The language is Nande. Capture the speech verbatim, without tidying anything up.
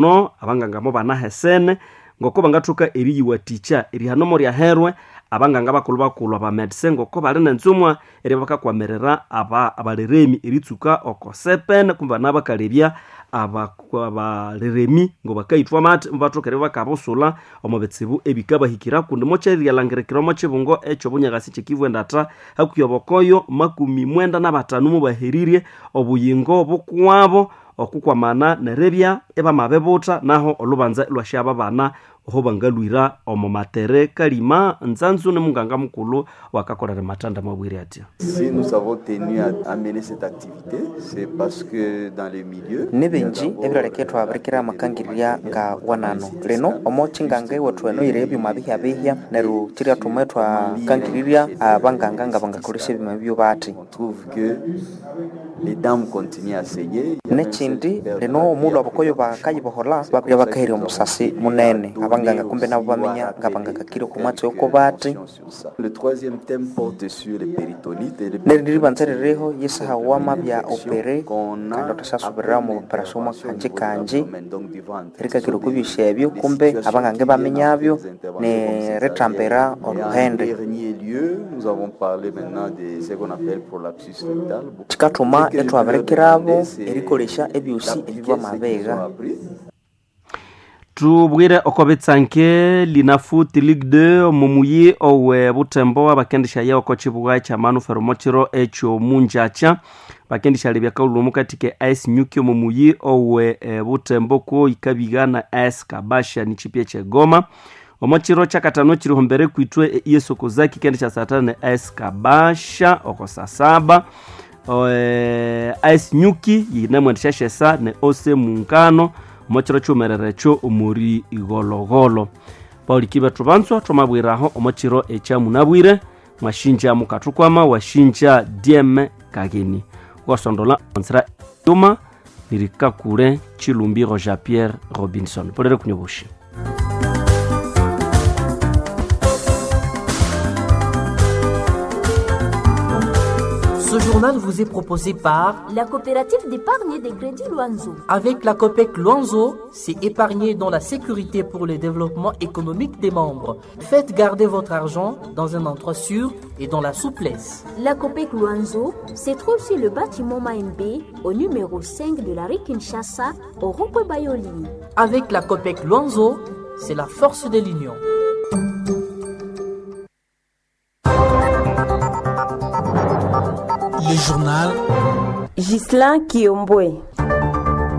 No abanganga mo banahesene ngoko bangathoka eriyiwathikya erihano ryaherwe abanganga bakulhu bakulhu abamedise ngoko bali nenzumwa eri bakakwamirira aba abaleremi eritsuka oko sepene kumbe nabakalebya abaleremi ngo bakayithwa amathi mubathoka eribya bakabusula omo bitsibu ebikabahikira kundi mokyeriryalangirikira omo kibungo ekyobunyakasi kyekivu endatha hakuhi obokoyo makumi mwenda nabatanu mubaherirye obuyingo bukwabo okukwamana neribya ibamabibutha naho olubanza ilwasyaba bana oho bangalwira omo matere kalima nzanzu ni munganga mukulhu wakakolera matanda mabwire atya. Si nous avons tenu à amener cette activité, c'est parce que dans les milieux nibingi ebilaleka ithwabirikira amakangirya nga wanano lino omo kyinganga ewethu eno yiri ebyuma bihyabihya neryo kyiryathuma ithwakangirirya abanganga nga bangakolesya ebyuma bibyo bathi. On trouve que les dames continuent à saigner. Nekindi lino omulhu abakoyo bakayibohola babya bakaherya omusasi munene abanganga kumbe nabo baminya nga bangakakire oku mwatsi oko bathi. Le troisième thème porte sur les péritonites et les neryo neribanza ririho yisahawa mabya opere kandi othasasubirira omu operasyon mwakanji kanji erikakira okwa ebyosi ebyo kumbe abanganga ibaminyabyo nerithambira oluhende. Dernier lieu, nous avons parlé maintenant de ce qu'on appelle prolapsus rectal. Kikathuma ithwabirikirabo erikolesya ebyosi ebibamabigha. Tubwire oko bitsanke Linafoot Ligue deux omumuyi owe Butembo abakendisha oko kibuga kya Manufer omukiro ekyo munjakya bakendisha lebya kaulhu omukati ke A S Nyuki omumuyi owe e, Butembo ko ikabigana A S Kabasha ni chipya kye Goma omukiro kyakatano kiriho kwitwe yesokozaki kendisha saa tano ne A S Kabasha oko saa saba e, A S Nyuki yinemwendesha shesa ne Ose Muungano omukiro kyumerere ekyo omuri igologolo pauliki bethu banzwa thwamabwiraho omukiro ekyamunabwire mwashinja mukathukwama washinja diem kageni ukasondola onzira yuma nirikakule chilumbiro Jean Pierre Robinson polere kunyobushi. Ce journal vous est proposé par la coopérative d'épargne des crédits Luanzo. Avec la COPEC Luanzo, c'est épargner dans la sécurité pour le développement économique des membres. Faites garder votre argent dans un endroit sûr et dans la souplesse. La COPEC Luanzo se trouve sur le bâtiment Maembe, au numéro cinq de la rue Kinshasa, au rond-point Bayoli. Avec la COPEC Luanzo, c'est la force de l'union. Le journal Ghislain Kiombwe.